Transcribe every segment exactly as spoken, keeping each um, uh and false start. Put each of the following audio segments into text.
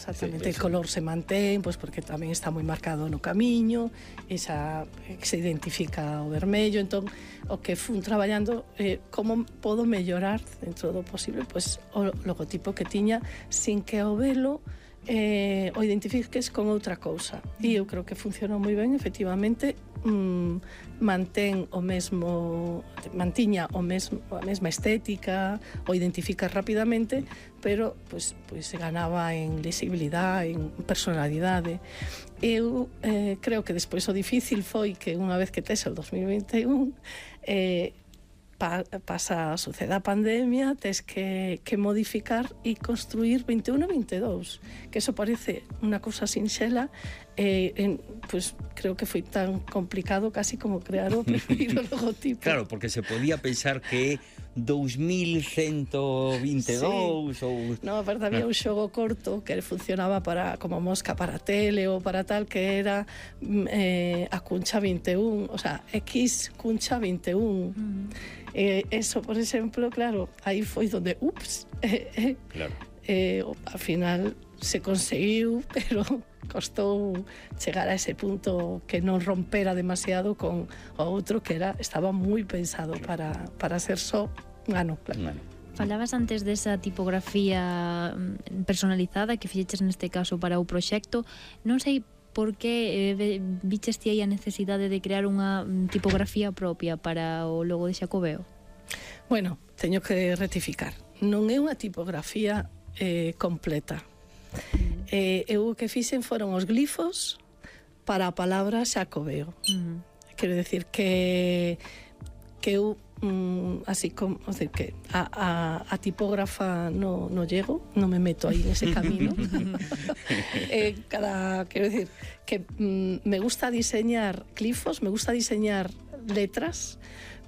exactamente. Sí, el color se mantén, pois porque tamén está moi marcado no camiño, esa que se identifica o vermello, entón o que fun traballando eh, como podo mellorar dentro do posible pois o logotipo que tiña sin que o velo eh, o identifiques con outra cousa. E eu creo que funcionou moi ben, efectivamente, mm, mantén o mesmo, mantiña o mesmo, a mesma estética, o identificas rapidamente, pero pois, pois se ganaba en lisibilidade, en personalidade. Eu eh, creo que despois o difícil foi que unha vez que tes o dos mil vinte e un eh, pa, pasa, sucede a pandemia, tes que, que modificar e construir vinte e un e vinte e dous, que eso parece unha cousa sinxela, eh, en, pues creo que foi tan complicado casi como crear o primeiro logotipo. Claro, porque se podía pensar que dous mil ciento vinte e dous sí. ou... No, aparte había un xogo corto que funcionaba para como mosca para tele ou para tal, que era eh, a cuncha vinte e un, o sea, X cuncha vinte e un. Mm. Eh, eso, por exemplo, claro, aí foi donde, ups, eh, eh, claro. eh, al final se conseguiu, pero costou chegar a ese punto que non rompera demasiado con o outro que era estaba moi pensado para, para ser só ano, claro. Bueno. Falabas antes desa tipografía personalizada que fixeches neste caso para o proxecto. Non sei por que eh, viches ti aí a necesidade de crear unha tipografía propia para o logo de Xacobeo? Bueno, teño que rectificar. Non é unha tipografía eh, completa. Eh, eu o que fixen foron os glifos para a palabra Xacobeo. Uh-huh. Quero decir que que eu mm, así como, o sea, que a, a, a tipógrafa no, no llego, no me meto aí nese camino. eh, cada, quero decir que mm, me gusta diseñar glifos, me gusta diseñar letras,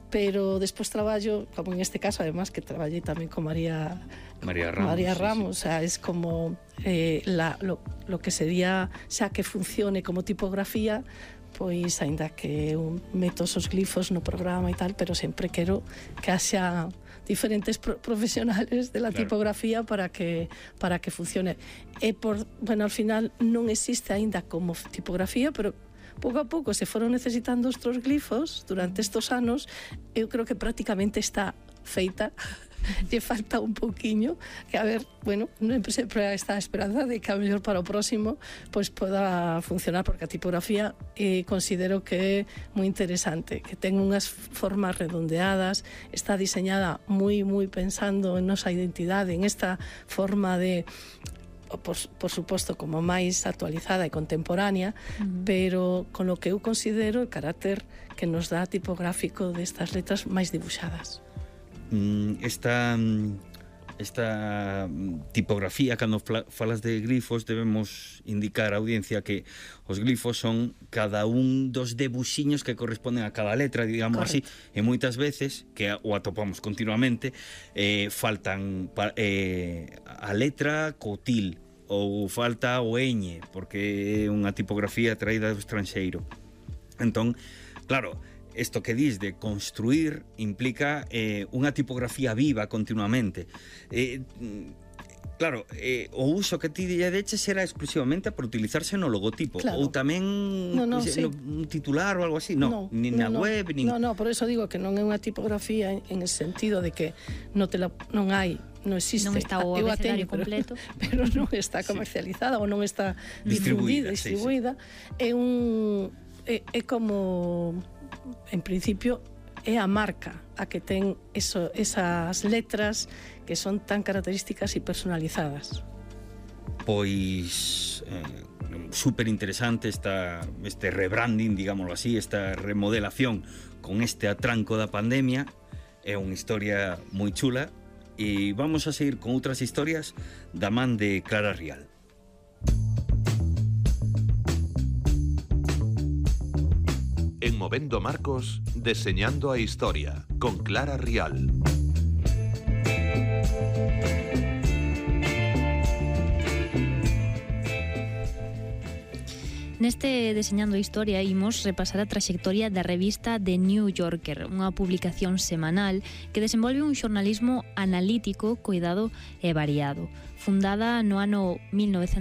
pero despois traballo, como en este caso, además que traballei tamén con María María Ramos, María Ramos, sí, sí. O sea, es como eh, la, lo, lo que sería, xa que funcione como tipografía, pois aínda que eu meto os glifos no programa e tal, pero sempre quero que haxa diferentes pro profesionales de la claro. tipografía para que para que funcione. E por, bueno, al final non existe aínda como tipografía, pero pouco a pouco se foron necesitando os glifos durante estos anos, eu creo que prácticamente está feita. Lle falta un pouquiño, que a ver, bueno, sempre está a esperanza de que a mellor para o próximo pois poda funcionar, porque a tipografía eh, considero que é moi interesante, que ten unhas formas redondeadas, está diseñada moi moi pensando en nosa identidade, en esta forma de Por, por suposto como máis actualizada e contemporánea, uh-huh. pero con lo que eu considero o carácter que nos dá tipográfico destas letras máis dibuixadas. Esta, esta tipografía, cando falas de glifos, debemos indicar á audiencia que os glifos son cada un dos debuxiños que corresponden a cada letra, digamos Correcto. así, e moitas veces, que o atopamos continuamente, eh, faltan eh, a letra co til, ou falta o ñ, porque é unha tipografía traída do estranxeiro. Entón, claro, isto que dis de construir implica eh, unha tipografía viva continuamente. Eh, claro, eh, o uso que ti lle deches era exclusivamente para utilizarse no logotipo, claro. ou tamén no, no, pues, sí. un titular ou algo así, no, no nin na no, web, nin... No, no, por eso digo que non é unha tipografía en, en el sentido de que non te la, non hai non existe, non está o abecedario completo, pero, pero non está comercializada, sí. ou non está difundida, distribuída, sí, sí. é un é, é como en principio é a marca a que ten eso, esas letras que son tan características e personalizadas. Pois eh, super interesante esta, este rebranding, digámoslo así, esta remodelación con este atranco da pandemia. É unha historia moi chula e vamos a seguir con outras historias da man de Clara Rial. En Movendo Marcos, deseñando a historia, con Clara Rial. Neste Deseñando a Historia imos repasar a traxectoria da revista The New Yorker, unha publicación semanal que desenvolve un xornalismo analítico, coidado e variado. Fundada no ano mil novecentos